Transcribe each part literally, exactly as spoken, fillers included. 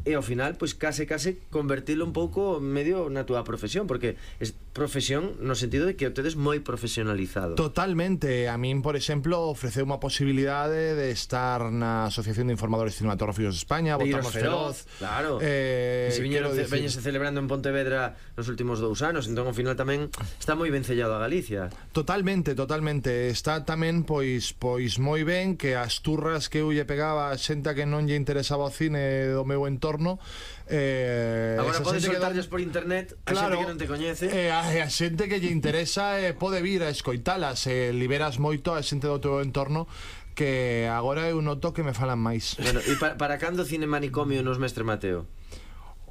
e ao final, pois case case convertilo un pouco medio na túa profesión, porque es profesión no sentido de que o tedes moi profesionalizado. Totalmente. A min, por exemplo, ofreceu unha posibilidade de estar na Asociación de Informadores Cinematográficos de España, de Votarnos Feroz, feroz, claro. Eh, que se viñeron, decir... veñense celebrando en Pontevedra nos últimos dous anos, entón ao final tamén está moi ben sellado a Galicia. Totalmente, totalmente. Está tamén pois pois moi ben que as turras que eu lle pegaba a xente que non lle interesaba o cine do meu entorno, eh, agora podes soltarlles do... por internet a claro, xente que non te coñece, eh, a, a xente que lle interesa eh, pode vir a escoitalas, eh, liberas moito a xente do teu entorno que agora eu noto que me falan máis. bueno, e para, para cando cine manicomio nos Mestre Mateo?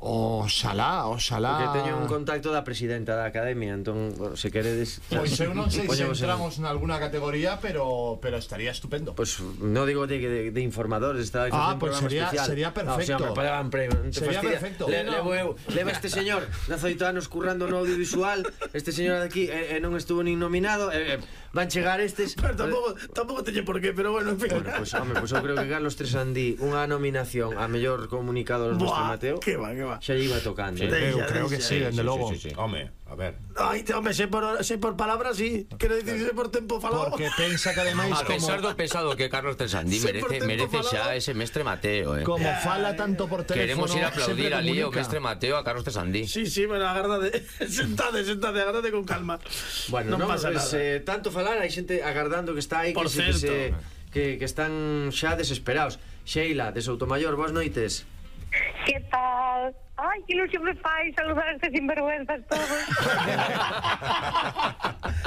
Oxalá, oxalá. Porque teño un contacto da presidenta da academia, entón, se queredes... Pois eu non sei se Poñemos entramos en alguna categoría, pero pero estaría estupendo. Pois pues, no digo de, de, de informadores, estaba ah, un pues programa sería, especial. sería perfecto. No, o sea, me pagaban premio, non te sería fastidia. perfecto. Le, no. levo eu, leva este señor dezaoito anos currando no audiovisual, este señor de aquí e, e non estuvo nin nominado, e, e, van chegar estes... Pero tampouco, tampouco teñe por qué, pero bueno, en fin. Bueno, pois, pues, home, pois pues eu creo que Carlos Tresandí unha nominación a mellor comunicador do Mestre Mateo, que va, que va. xa lle iba tocando. Sí, eh? eu creo que sí, dende logo. Sí, sí, sí. Home, a ver. Ai, te, home, sei por, sei por palabras, sí. Quero dicir, sei por tempo falado. Porque pensa que ademais A como, pesar do pesado que Carlos Tresandí Sí, por merece, tempo merece falado. xa ese Mestre Mateo, eh. como fala tanto por teléfono, Queremos ir a aplaudir sempre ali o comunica. Mestre Mateo a Carlos Tresandí. Sí, sí, bueno, agardade. Sentade, sentade, agardade con calma. Bueno, non non, pasa pues, nada. eh, tanto falar, hai xente agardando que está aí, Por que, se, que, certo. se, que, que están xa desesperados. Sheila, de Soutomayor, boas noites. Que tal? Ai, que ilusión me fai saludar a estes sinvergüenzas todos.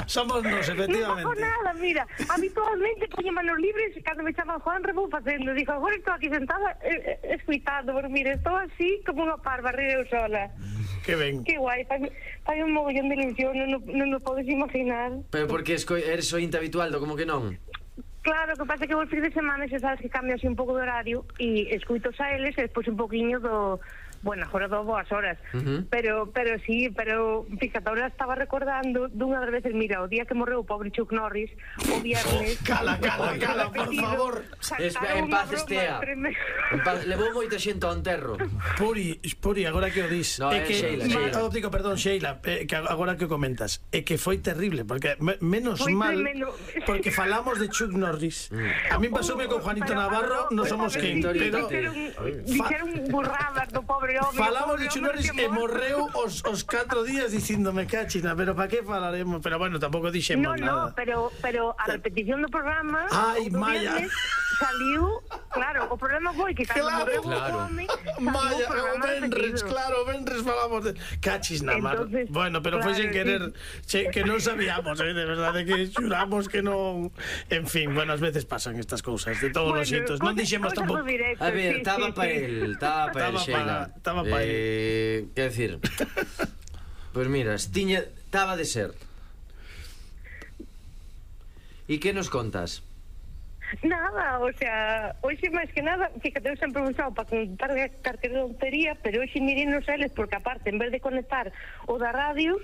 Somos nos, Non efectivamente. fago nada, mira. Habitualmente poño manos libres e cando me chaman Juan vou facendo. Digo, agora estou aquí sentada eh, eh, escuitando, pero mira, estou así como unha parva, río sola. Que ben. Que guai, fai, fai un mogollón de ilusión, non, non o podes imaginar. Pero porque esco- eres ointe habitual, do como que non? Claro, que pasa que vos fin de semana se sabes que cambia así un pouco de horario e escuitos a eles e despois un poquinho do... Bueno, agora do boas horas. Uh-huh. Pero, pero sí, pero fíjate, ahora estaba recordando dunha das veces, mira, o día que morreu o pobre Chuck Norris, o viernes... Cala, cala, cala, por favor. Es, en paz estea. En paz, levou moita xente ao enterro. Puri, Puri, agora que o dis. No, é é que, Sheila, Sheila. Oh, digo, perdón, Sheila, eh, que agora que o comentas, é que foi terrible, porque me, menos Foi mal, tremendo. porque falamos de Chuck Norris. A mí pasoume con Juanito Navarro, non somos quen, pero Dixeron, dixeron burradas do pobre home. falamos de o pobre Chuck home Norris que e morto. morreu os, os catro días dicíndome cachina, pero para que falaremos? Pero bueno, tampouco dixemos No, nada. no, pero, pero a repetición do programa Ai, o do Maya. viernes saliu, claro, o programa foi que cando Claro, morreu claro. o home saliu Vaya, o o programa Benres, repetido. claro, o Benres falamos de cachis na mar. Entonces, Bueno, pero foi claro, sen querer, che, que non sabíamos, eh, de verdade que xuramos que non. En fin, bueno, ás veces pasan estas cousas, de todos Bueno, os xeitos. Non cosas- dixemos cosas tampouco. do directo, A ver, sí, estaba sí, para sí. él, estaba para él, Estaba Sheila. pa- estaba pa él. Eh, quer decir, pois pues mira, tiña, estaba de ser. E que nos contas? Nada, o sea, hoxe máis que nada, fíjate, eu sempre usado para contar cartera de tontería, pero hoxe mirei nos eles, porque aparte, en vez de conectar o da radio,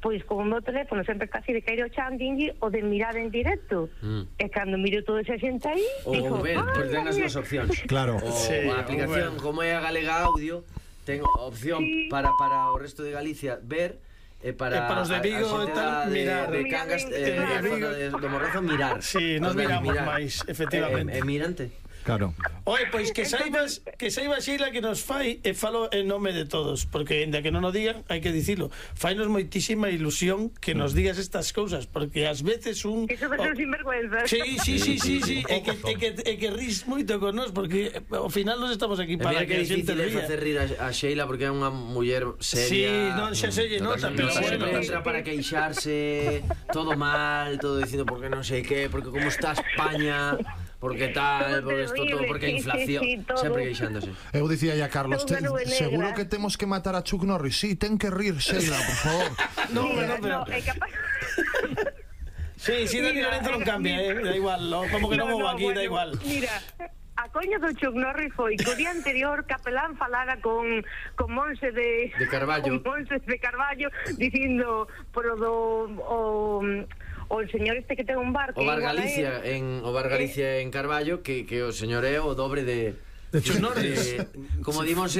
pois con o meu teléfono sempre casi de caer o chanding o de mirar en directo. Mm. E cando miro toda esa xente aí, Ou digo, ver, "Ay, pois ten as mira". dúas opcións. Claro. O Sí, a aplicación, bueno. como é a Galega Audio, ten opción Sí. para, para o resto de Galicia ver e para, E para os de Vigo a, a xente e tal, da- de, mirar. de Mirar Cangas, en- eh, claro. de, Vigo, de, do Morrazo, mirar. Sí, nos Os de miramos mirar. máis, efectivamente. E, e mirante. Claro. Oye, pois que saibas, que saibas Sheila que nos fai e falo en nome de todos, porque ainda que non o digan, hai que dicilo. Fainos moitísima ilusión que nos digas estas cousas, porque ás veces un Que son oh. sinvergüenzas. Sí, sí, sí, sí, sí, e que e que e que ris moito con nós, porque ao final nos estamos aquí E para mira que que a xente difícil é ría. facer rir a, a Sheila porque é unha muller seria. Sí, non, xa se lle nota, Non pero sempre bueno. entra para queixarse, todo mal, todo dicindo porque non sei que, porque como está España, porque tal, Todo porque isto todo, terrible, porque a sí, inflación, sí, sí, todo. sempre queixándose. Eu dicía ya Carlos, te, Toda nube negra. seguro que temos que matar a Chuck Norris. Sí, ten que rir, Sheila, por favor. No, Mira, no, pero no, é capaz... Sí, sí, Dani Mira, Lorenzo non cambia, eh, da igual, no, como que non No, vou no, aquí, da bueno, igual. Mira, a coña do Chuck Norris foi que o día anterior Capelán falara con, con Monse de... De Carballo. Con Monse de Carballo, dicindo pro do... O, o señor este que ten un bar... O que Bar igual a Galicia él. en o Bar Galicia en Carballo que que o señor é o dobre de De Chuck Norris. de, como dimos de